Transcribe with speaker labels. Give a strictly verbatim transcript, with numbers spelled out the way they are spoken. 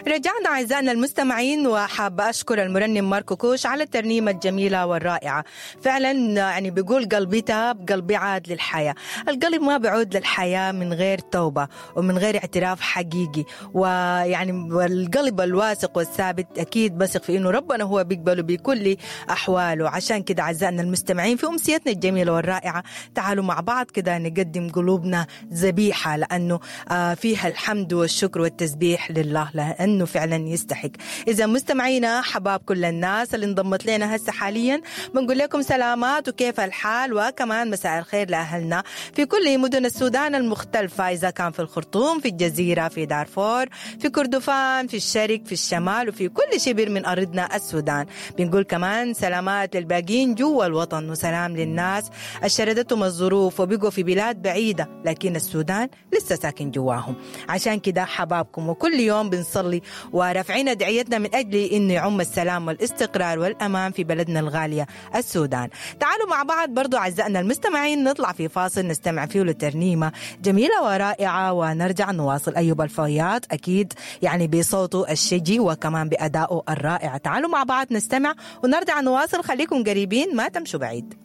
Speaker 1: رجعنا أعزائنا المستمعين، وحابة أشكر المرنم ماركو كوش على الترنيمة الجميلة والرائعة. فعلا يعني بيقول قلبي تاب، قلبي عاد للحياة. القلب ما بعود للحياة من غير توبة ومن غير اعتراف حقيقي، ويعني والقلب الواثق والثابت أكيد بثق في إنه ربنا هو بيقبله بكل أحواله. عشان كده أعزائنا المستمعين في أمسيتنا الجميلة والرائعة تعالوا مع بعض كده نقدم قلوبنا ذبيحة، لأنه فيها الحمد والشكر والتسبيح لله، لأنه فعلا يستحق. إذا مستمعينا حباب كل الناس اللي انضمت لنا هسه حاليا بنقول لكم سلامات وكيف الحال، وكمان مساء الخير لأهلنا في كل مدن السودان المختلفة، إذا كان في الخرطوم، في الجزيرة، في دارفور، في كردفان، في الشرق، في الشمال، وفي كل شبر من أرضنا السودان. بنقول كمان سلامات للباقين جوا الوطن، وسلام للناس الشردتهم الظروف وبقوا في بلاد بعيدة لكن السودان لسه ساكن جواهم. عشان كده حبابكم، وكل يوم بنصلي ورافعين دعيتنا من أجل إنه يعم السلام والاستقرار والأمان في بلدنا الغالية السودان. تعالوا مع بعض برضو أعزائنا المستمعين نطلع في فاصل نستمع فيه لترنيمة جميلة ورائعة ونرجع نواصل. أيوب الفياض أكيد يعني بصوته الشجي وكمان بأدائه الرائع. تعالوا مع بعض نستمع ونرجع نواصل، خليكم قريبين ما تمشوا بعيد.